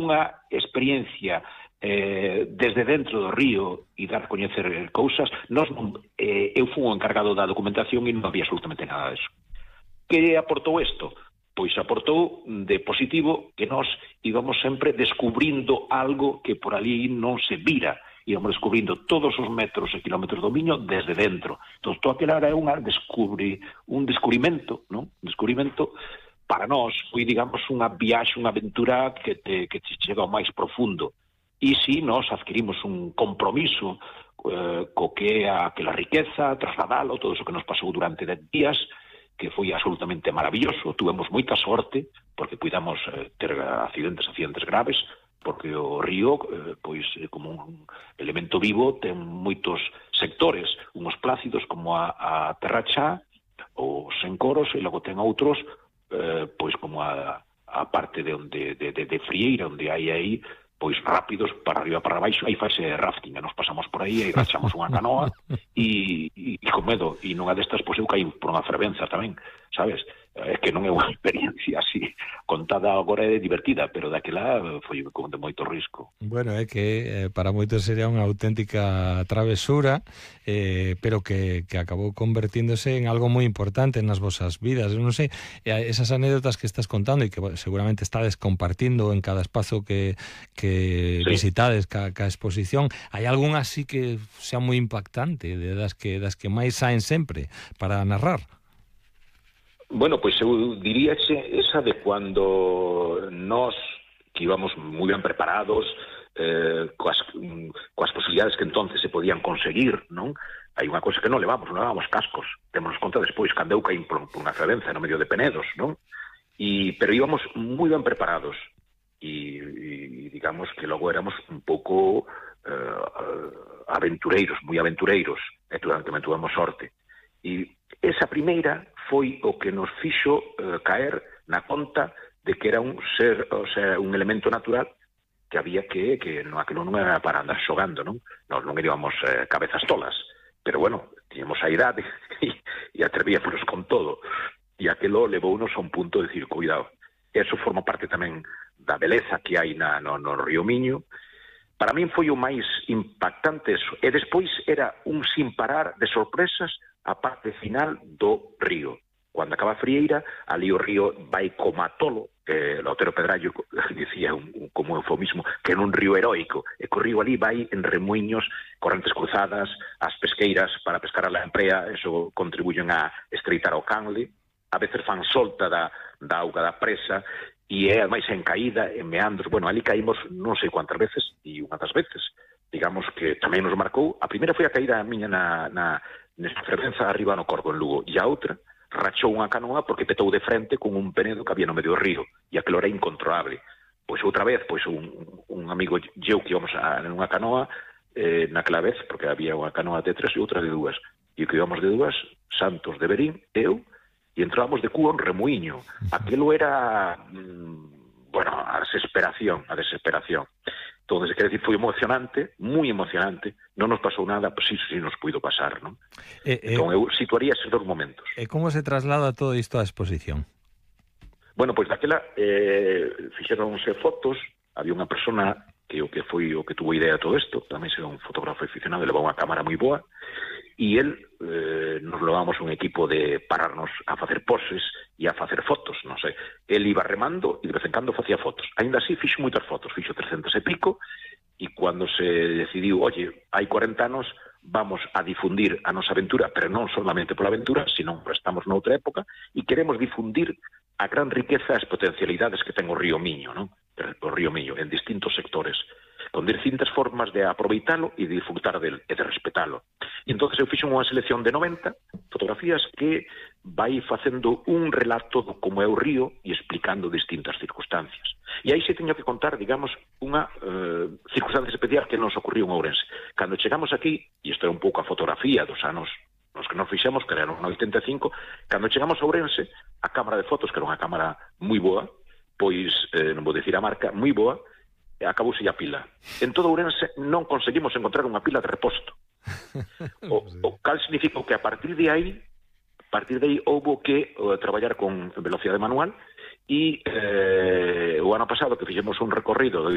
unha experiencia desde dentro do río e dar a coñecer cousas. Eu fui o encargado da documentación e non había absolutamente nada disso. Que aportou isto? Pois aportou de positivo que nós íbamos sempre descubrindo algo que por ali non se vira. Íbamos descubrindo todos os metros e kilómetros do Miño desde dentro. Entón, todo aquilo era un descubrimento, non? Un descubrimento para nós. Foi, digamos, unha viaxe, unha aventura que te chega ao máis profundo. E si nós adquirimos un compromiso co que é aquela riqueza, trasladalo, todo iso que nos pasou durante 10 días, que foi absolutamente maravilloso. Tuvemos moita sorte, porque puidamos ter accidentes graves, porque o río, pois, como un elemento vivo, ten moitos sectores, uns plácidos como a Terra Chá, os encoros, e logo ten outros, pois como a parte de Frieira, onde hai aí pois rápidos para arriba para baixo, aí faise rafting, e nos pasamos por aí, aí rachamos unha canoa e con medo, e nunha destas pois eu caí por unha fervenza tamén, sabes? É que non é unha experiencia así contada agora é divertida, pero daquela foi con de moito risco. Bueno, é que para moitos sería unha auténtica travesura, pero que acabou convertíndose en algo moi importante nas vosas vidas. Eu non sei, esas anécdotas que estás contando e que seguramente estades compartindo en cada espazo que sí, visitades ca exposición, hai algún así que sea moi impactante, das que máis saen sempre para narrar? Bueno, pois eu diríaxe esa de cuando nós, que íbamos moi ben preparados, coas posibilidades que entonces se podían conseguir, non? Hai unha cousa que non levamos cascos, témonos conta despois, cando eu caín por unha fervenza no medio de Penedos, non? Pero íbamos moi ben preparados, e digamos que logo éramos un pouco aventureiros, moi aventureiros, e tamén tuvemos sorte. E esa primeira foi o que nos fixo caer na conta de que era un ser, o sea, un elemento natural que había que aquilo non era para andar xogando, non? Nós non íbamos cabezas tolas, pero bueno, tiñamos a idade e atrevíamos con todo, e aquilo levounos a un punto de decir, cuidado, eso forma parte tamén da beleza que hai no río Miño. Para min foi o máis impactante eso, e despois era un sin parar de sorpresas a parte final do río. Cando acaba Frieira, ali o río vai como a tolo, Otero Pedrallo dicía como eufemismo que era un río heroico, e que o río ali vai en remuiños, correntes cruzadas, as pesqueiras para pescar a lamprea, eso contribuyen a estreitar o canle, a veces fan solta da auga da presa, e é máis en caída, en meandros. Bueno, ali caímos non sei cuántas veces, e unha das veces, digamos que tamén nos marcou. A primeira foi a caída miña nesta fervenza arriba no Corgo, en Lugo, e a outra rachou unha canoa porque petou de frente con un penedo que había no medio do río, e aquilo era incontrolable. Pois outra vez, pois un amigo eu que íbamos nunha canoa, naquela vez, porque había unha canoa de 3 e outra de 2, e que íbamos de 2, Santos de Berín, eu, e entrábamos de cuo en remuiño. Aquilo era, bueno, a desesperación. Entón, quer decir, foi emocionante, moi emocionante, non nos pasou nada, pois sí nos puido pasar, non? Entón, eu situaría esos 2 momentos. E como se traslada todo isto á exposición? Bueno, pois daquela fixeronse fotos, había unha persona que foi o que tuvo idea de todo isto, tamén era un fotógrafo aficionado, levaba unha cámara moi boa, e el nos levamos un equipo de pararnos a facer poses e a facer fotos, non sei. El iba remando e de vez en cando facía fotos. Ainda así fixo moitas fotos, fixo 300 e pico, e cando se decidiu, oye, hai 40 anos, vamos a difundir a nosa aventura, pero non solamente pola aventura, sino que estamos noutra época, e queremos difundir a gran riqueza e as potencialidades que ten o río Miño, non? O río Miño, en distintos sectores, con distintas formas de aproveitalo e de disfrutar del e de respetalo. E entón eu fixo unha selección de 90 fotografías que vai facendo un relato do como é o río e explicando distintas circunstancias. E aí se teño que contar, digamos, unha circunstancia especial que nos ocurriu en Ourense. Cando chegamos aquí, e isto é un pouco a fotografía dos anos nos que nos fixemos, que eran no 85, cando chegamos a Ourense, a cámara de fotos, que era unha cámara moi boa, pois, non vou dicir a marca, moi boa, acabouse a pila. En todo Ourense non conseguimos encontrar unha pila de reposto. O cal significa que a partir de aí houbo que traballar con velocidade manual, e o ano pasado que fixemos un recorrido de